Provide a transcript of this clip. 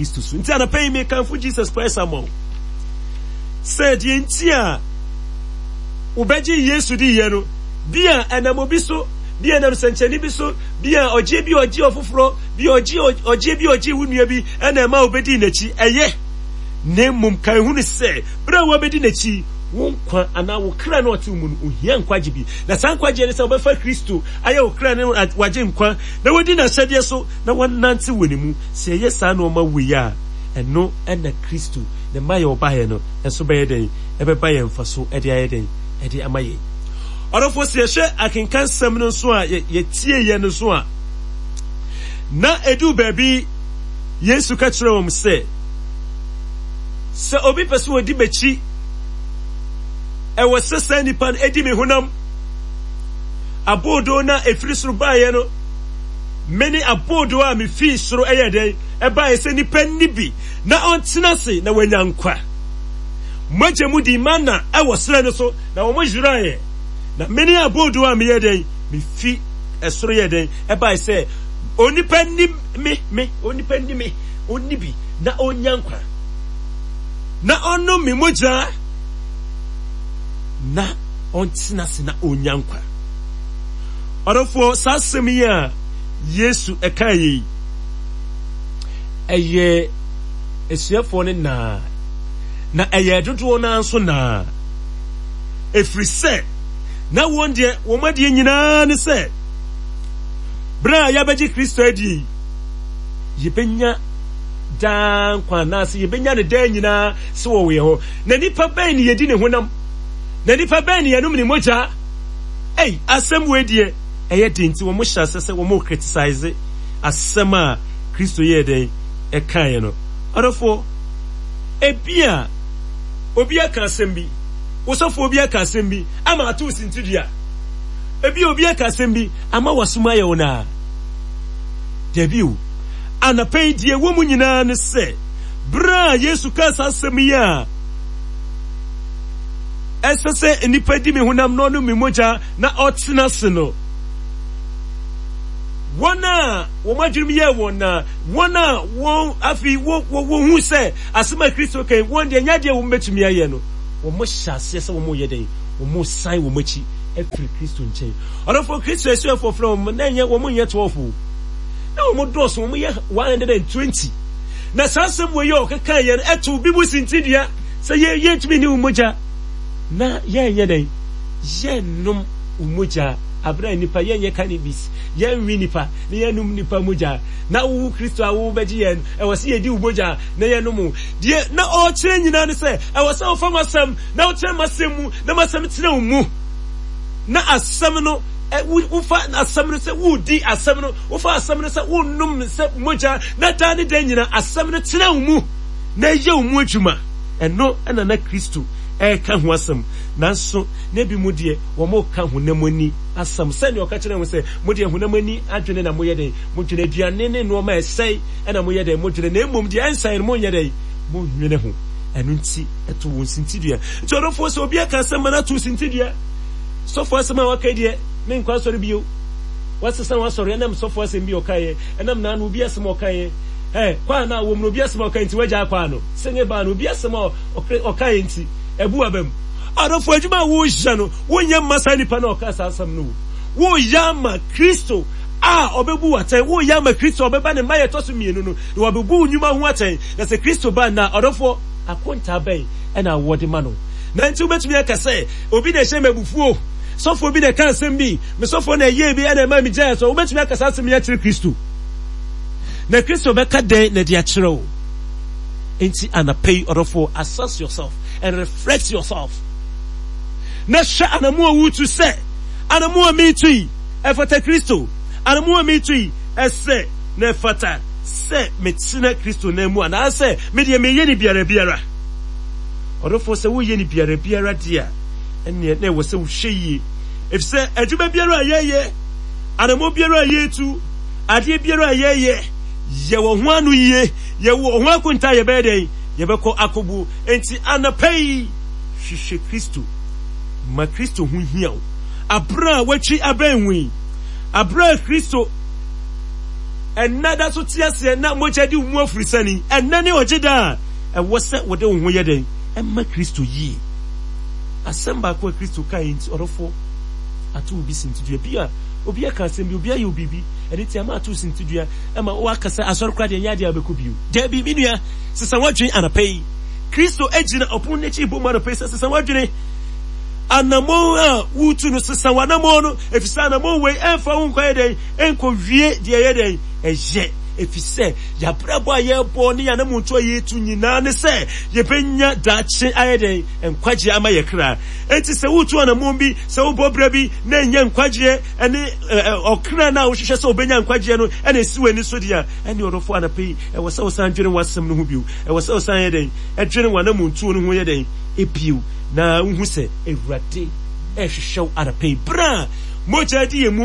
Kristo so. Nti anɔpa yi mekamfo Jesus Christ ama wo sɛ deɛ nti a wobɛgye Yesu di yɛ no, bi a ɛnam obi so, bi a ɛnam sɛnkyɛnne bi so, bi a ɔgye bi ɔgye ɔfoforɔ, bi ɔgye ɔgye bi ɔgye wo nua bi ɛna ɛma wobɛdi n'akyi. Ɛyɛ. Na mmom kan hunu sɛ berɛ a wabɛdi n'akyi, wo nkwa anaa wo kra no ɔte wo mu no, ohia nkwagye bi. Na saa nkwagyeɛ ne sɛ wobɛfa Kristo ayɛ wo kra ne wagye nkwa na wadi n'ahyɛdeɛ so na wanante wɔ ne mu. Sɛ yɛyɛ saa nnoɔma wei a, ɛno na Kristo, ne mmaeɛ a ɔbaeɛ no nso bɛyɛ dɛn? Ɛbɛba yɛn mfaso de ayɛ dɛn? Ɛde ama yɛn. Ɔdɔfoɔ, sɛ yɛhwɛ akenkansɛm no nso a yɛtieeɛ no nso a, na ɛduu baabi Yesu ka kyerɛɛ wɔn sɛ, sɛ obi pɛ sɛ ɔdi m'akyi, ɛwɔ sɛ saa nipa no ɛdi me honam. Aboodoo no a ɛfiri soro baeɛ no, mene aboodoo a mefii soro ɛyɛ dɛn ɛbaeɛ sɛ nipa nni bi na ɔntena ase na wanya nkwa. Mogya mu di mana ɛwɔ serɛ no so na wɔn yeraeɛ. Na mene aboodoo a meyɛ dɛn mefi ɛsoro yɛ dɛn ɛbaeɛ sɛ onipa nni me me onipa nni me ɔnni bi na ɔnya nkwa na ɔnom me mogya na ɔntena ase na ɔnya nkwa. Ɔdɔfoɔ, saa asɛm yi a Yesu ɛkaa yi, ɛyɛ asuafoɔ no naa, na ɛyɛ dodoɔ no nso naa. Ɛfiri sɛ, na wɔn deɛ wɔn adeɛ nyinaa ne sɛ, berɛ a yɛabɛgye Kristo adie yi, yɛbɛnya daa nkwa anaasɛ yɛbɛnya no daa nyinaa sɛ wɔwɔ yɛn hɔ. Na nipa bɛn ne yɛdi ne honam? Na nipa bɛn ne yɛnom ne mogya? Ei, asɛm wei deɛ ɛyɛ den nti wɔn hyɛ asɛ sɛ wɔn criticize asɛm a Kristo yɛɛ dɛn ɛkaeɛ no. Ɔdɔfoɔ, ebia obi aka asɛm bi, wosɔfoɔ bi aka asɛm bi ama ato wo sintidua. Ebia obi aka asɛm bi ama w'asom ayɛ wo naa. Dabi o. Anɔpa yi deɛ ɛwɔ mu nyinaa ne sɛ, berɛ a Yesu kaa saa asɛm yi a, ɛsɛ sɛ nnipa di me honam na ɔnom me mogya na ɔtena ase no, wɔn a wɔn adwenem yɛɛ wɔn na wɔn a wɔn afei wɔhu sɛ asɛm a Kristo kan wɔn deɛ nyɛ adeɛ a wɔn bɛtumi ayɛ no, wɔn hyɛ aseɛ sɛ wɔn yɛ dɛn, wɔn san wɔn akyi afiri Kristo nkyɛn. Ɔdɔfoɔ, Kristo asuafoɔ frɛ wɔn, na ɛnyɛ wɔn nyɛ 12 o. Na wɔn dɔɔso, wɔn yɛ 120. Na saa asɛm wɔ yi a ɔkeka yɛn ɛto bi mu sintidua sɛ yɛ yɛntumi ne wo mogya na yɛnyɛ dɛn yɛnnom wo mogya abere a nipa yɛnyɛ cannabis yɛnwe nipa na yɛnnom nipa mogya na wo Kristo a wobɛgye yɛn ɛwɔ sɛ yɛdi wo mogya na yɛnom wo deɛ na ɔkyerɛ nyinaa ne sɛ ɛwɔ sɛ wofa m'asɛm na wokyerɛ m'asɛm mu na m'asɛm tena wo mu na asɛm no wofa asɛm no sɛ wodi asɛm no wofa asɛm no sɛ wonom sɛ mogya na daa ne da nyina asɛm no tena wo mu na ɛyɛ wo mu adwuma. Ɛno na na Kristo reka ho asɛm. Nanso na ebi mu deɛ wɔreka honam ani asɛm sɛnea ɔka kyerɛɛ wɔn sɛ, Mo deɛ honam ani adwene na moyɛ dɛn? Modwene aduane ne nneɛma a ɛsɛe na moyɛ dɛn? Modwene, na mmom deɛ ɛnsɛe no monyɛ dɛn? Monnwene ho. Ɛno nti ɛto wɔn sintidua. Nti ɔdɔfoɔ, sɛ obi aka asɛm ma no ato sintidua, sɔfoɔ asɛm a waka yi deɛ, menkɔ asɔre bio. Wasesa w'asɔre ɛnam sɔfoɔ asɛm bi a ɔkaeɛ, ɛnam naano obi asɛm a ɔkaeɛ. Ɛ, kwaa no a wɔm no obi asɛm a ɔkae nti wagyaa kwaa no. Sɛnea ɛbaa no, obi asɛm a ɔkaeɛ nti, abu w'aba mu. Ɔdɔfo, adwuma a woreyɛ no, wonyɛ mma saa nipa no a ɔkaa saa asɛm no o. Woreyɛ ama Kristo a ɔbɛbu wo atɛn. Woreyɛ ama Kristo a ɔbɛba ne mmaeɛ ɛtɔ so mmienu no, na wabebu wo nnwuma ho atɛn. Na sɛ Kristo ba nnɛ a, ɔdɔfoɔ, akontaa bɛn na wɔde ma no? Na nti wobɛtumi aka sɛ, obi na ɛhyɛ me abufuo, sɔfoɔ bi na ɛka asɛm bi, me sɔfoɔ na ɛyɛɛ bi na ɛmaa megyaee asɔre. Wobɛtumi aka saa asɛm yi akyerɛ Kristo? Na Kristo bɛka dɛn na ɛde akyerɛ wo? Enti anapa yi, ɔdɔfoɔ, assess yourself and reflect yourself. Na hwɛ anamu a wotu sɛ, anamu a metu yi, ɛfata Kristo. Anamu a metu yi, ɛsɛ na ɛfata sɛ metena Kristo nan mu anaasɛ me deɛ meyɛ ne biara biara. Ɔdɔfoɔ, sɛ woyɛ ne biara biara deɛ a, ɛnneɛ na ɛwɔ sɛ wohwɛ yie. Efisɛ adwuma biara a yɛyɛ, anammɔn biara a yɛtu, Adeɛ biara a yɛyɛ, yɛwɔ ho ano yie, yɛwɔ ho akonta a yɛbɛyɛ dɛn? Yɛbɛkɔ akɔbuo. Enti anɔpa yi, hwehwɛ Kristo. Ma Kristo ho hia wo. Aberɛ a watwi abɛn wo yi, aberɛ a Kristo. ɛnnɛ da so te aseɛ na mogya di wo mu afurisani, ɛnnɛ ne ɔgye da a ɛwɔ sɛ wode wo ho yɛ dɛn? Ɛma Kristo yie. Asɛm baako a Kristo kaeɛ nti, ɔdɔfoɔ, ato wo bi sintidua. Bi a obi aka asɛm bi, obi ayɛ wo biribi, ɛno nti ama ato wo sintidua, ɛma woaka sɛ asɔre koraa deɛ ɛnyɛ adeɛ a wobɛkɔ bio. Daabi, me nua, sesa w'adwene anɔpa yi. Kristo gyina ɔpono no akyi rebɔ mu anɔpa yi sɛ sesa w'adwene. Anammɔn a woretu no, sesa w'anammɔn no, efisɛ anammɔn wei ɛmfa wo nkɔyɛ dɛn, ɛnkɔwie deɛ ɛyɛ dɛn, ɛyɛ. Efisɛ yɛabrabɔ a yɛrebɔ ne yɛn anammɔntu a yɛretu nyinaa ne sɛ yɛbɛnya daakye ayɛ dɛn, nkwagyeɛ ama yɛ kra. Enti sɛ woretu anammɔn bi, sɛ wobɔ bra bi na ɛnyɛ nkwagyeɛ ne ɔkra no a wohwehwɛ sɛ wobɛnya nkwagyeɛ no na ɛsi w'ani so deɛ a, ɛne ɔdɔfoɔ anɔpa yi, ɛwɔ sɛ wosan dwene w'asɛm no ho bio. Ɛwɔ sɛ wosan yɛ dɛn, ɛdwene w'anammɔntuo no ho yɛ dɛn, bio, na wohu sɛ Awurade rehwehwɛ wo anɔpa yi, berɛ a mogya di yɛn mu.